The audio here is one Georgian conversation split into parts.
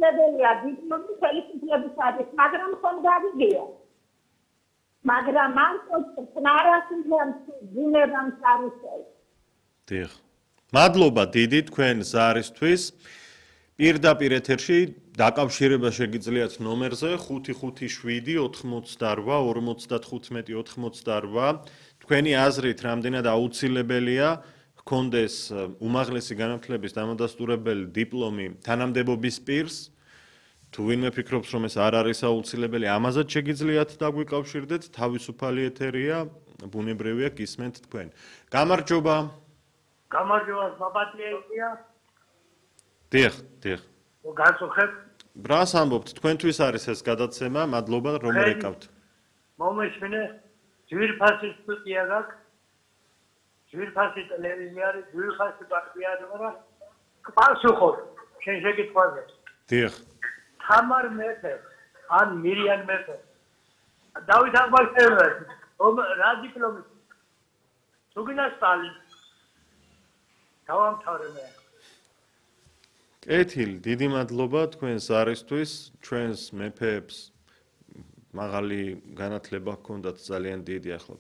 აუცილებელია დიპლომი ხელისუფლების არის, მაგრამ ხომ გავიგია. მაგრამ ამ წნარასიდან ძინებამ წარუსწევს. დიახ. მადლობა დიდი თქვენ ზარისთვის. პირდაპირ ეთერში დაკავშირება შეგიძლიათ ნომერზე 557 88 55 88. თქვენი აზრით რამდენად აუცილებელია ჰქონდეს უმაღლესი განათლების დამადასტურებელი დიპლომი თანამდებობის პირს? თუ ვინმე ფიქრობს, რომ ეს არ არის აუცილებელი, ამაზეც შეგიძლიათ დაგვიკავშირდეთ. თავისუფალი ეთერია, ბუნებრივია გისმენთ თქვენ. გამარჯობა. გამარჯობა, მაპატიეია. დიახ. გასუხებ. რას ამბობთ? თქვენთვის არის ეს გადაცემა, მადლობა რომ რეკავთ. მომეშინე ძვირფასი სტუდია გაქვს. ძვირფასი ტელევიზია არის, ძვირფასი პარტია არა. პასუხობ, შენ შეგიტყვაზე. დიახ. თამარ მეფე, ან მირიან მეფე. დავით აღმაშენებელი, რა დიპლომი? თუგინა სტალინი. დავამთავრე მე. კეთილი, დიდი მადლობა თქვენს არისთვის, ჩვენს მეფეებს მაღალი განათლება ჰქონდათ ძალიან დიდი, ახლა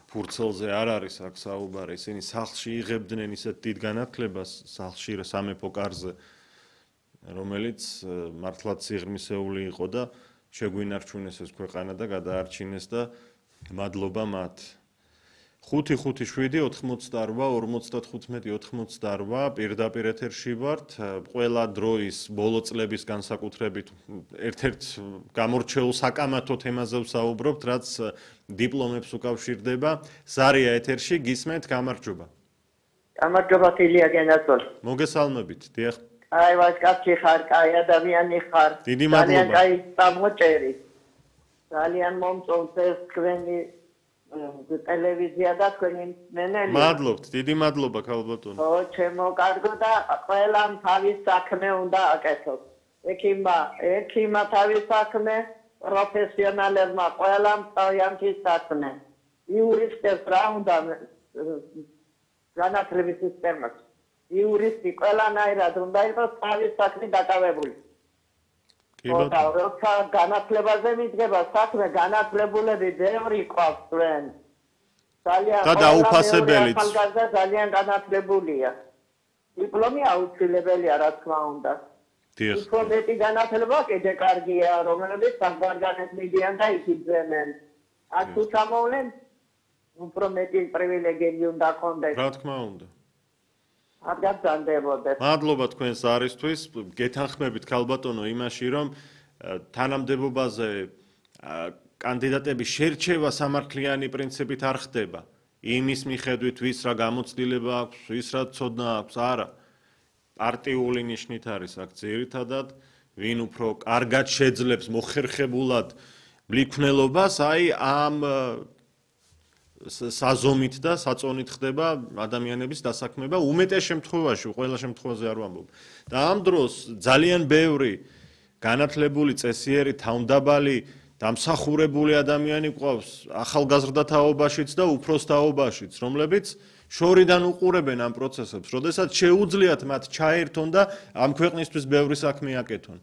ფურცელზე არ არის აქ საუბარი, ისინი სახლში იღებდნენ ისეთ დიდ განათლებას, სახლში სამეფო კარზე, რომელიც მართლაც სიღრმისეული იყო და შეგვინარჩუნეს ეს ქვეყანა და გადაარჩინეს და მადლობა მათ. 557 88 55 88 პირდაპირ ეთერში ვართ. ყველა დროის ბოლო წლების განსაკუთრებით ერთ-ერთ გამორჩეულ საკამათო თემაზე ვსაუბრობთ, რაც დიპლომებს უკავშირდება. ზარია ეთერში გისმენთ, გამარჯობა. გამარჯობა თილია გენაცვალ. მოგესალმებით, დიახ. აი ვასკაცი ხარ, კაი ადამიანი ხარ. დიდი მადლობა. ძალიან კაი წამოჭერი. ძალიან მომწონს ეს თქვენი ტელევიზია და თქვენი მენელი. მადლობთ, დიდი მადლობა ქალბატონო. ო, ჩემო კარგო და ყველამ თავის საქმე უნდა აკეთოს. ექიმა თავის საქმე, პროფესიონალებმა ყველამ თავიანთი საქმე. იურისტებს რა უნდა განათლების სისტემას. იურისტი ყველანაირად უნდა იყოს თავის საქმე დაკავებული. როცა განათლებაზე მიდგება საქმე, განათლებულები ბევრი ყავს თქვენ. და დაუფასებელიც. ძალიან განათლებულია. დიპლომი აუცილებელია, რა თქმა უნდა. დიახ. უფრო მეტი განათლება კიდე კარგია, რომლებიც საქმიანად მიდიან და იქიძვენენ. აქ თუ ჩამოვლენ, უფრო მეტი პრივილეგიები უნდა ჰქონდეს. რა თქმა უნდა. არ გაგზავნებოდეთ. მადლობა თქვენს არისთვის. გეთანხმებით ქალბატონო იმაში, რომ თანამდებობაზე კანდიდატები შერჩევა სამართლიანი პრინციპით არ ხდება. იმის მიხედვით, ვის რა გამოცდილება აქვს, ვის რა ცოდნა აქვს, არა. პარტიული ნიშნით არის აქ ძირითადად, ვინ უფრო კარგად შეძლებს მოხერხებულად მლიქვნელობას, აი ამ საზომით და საწონით ხდება ადამიანების დასაქმება უმეტეს შემთხვევაში, ყველა შემთხვევაზე არ ვამბობ. და ამ დროს ძალიან ბევრი განათლებული, წესიერი, თავმდაბალი, დამსახურებული ადამიანი ყავს ახალგაზრდა თაობაშიც და უფროს თაობაშიც, რომლებიც შორიდან უყურებენ ამ პროცესებს, როდესაც შეუძლიათ მათ ჩაერთონ და ამ ქვეყნისთვის ბევრი საქმე აკეთონ.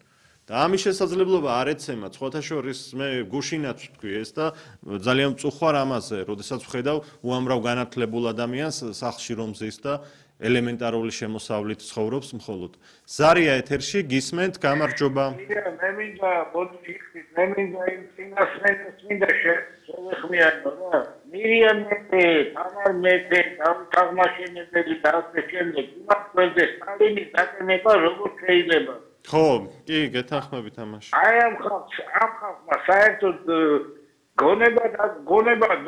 და ამის შესაძლებლობა არ ეცემა, სხვათა შორის მე გუშინაც ვთქვი ეს და ძალიან მწუხვარ ამაზე, როდესაც ვხედავ უამრავ განათლებულ ადამიანს სახლში რომ ზის და ელემენტარული შემოსავლით ცხოვრობს მხოლოდ. ზარია ეთერში გისმენთ, გამარჯობა. მე მინდა ბოდიშით, მე მინდა იმ წინასწრებს მინდა შევეხმიანო რა. მირიან მეფე, თამარ მეფე, აღმაშენებელი და ასე შემდეგ. იმას ყველზე სტალინის დაკნევა როგორ შეიძლება? ხო, კი, გეთანხმებით ამაში. აი ამ ხალხმა საერთოდ გონება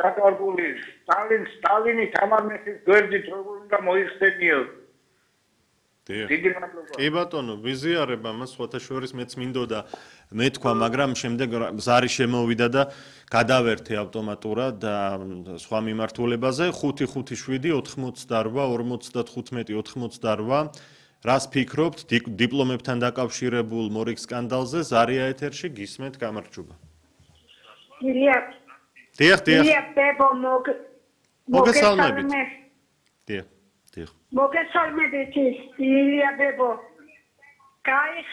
დაკარგული სტალინი თამარ მეფის გვერდით როგორ უნდა მოიხსენიო. დიდი მადლობა. კი ბატონო, ვიზიარებ ამას, სხვათა შორის მეც მინდოდა მეთქვა, მაგრამ შემდეგ ზარი შემოვიდა და გადავერთე ავტომატურად და სხვა მიმართულებაზე 557 88 95 რას ფიქრობთ დიპლომებთან დაკავშირებულ მორიგ სკანდალზე? ზარია ეთერში გისმენთ, გამარჯობა. დიახ. მოგესალმებით. დიახ. მოგესალმებით, ილია ბებო. კაი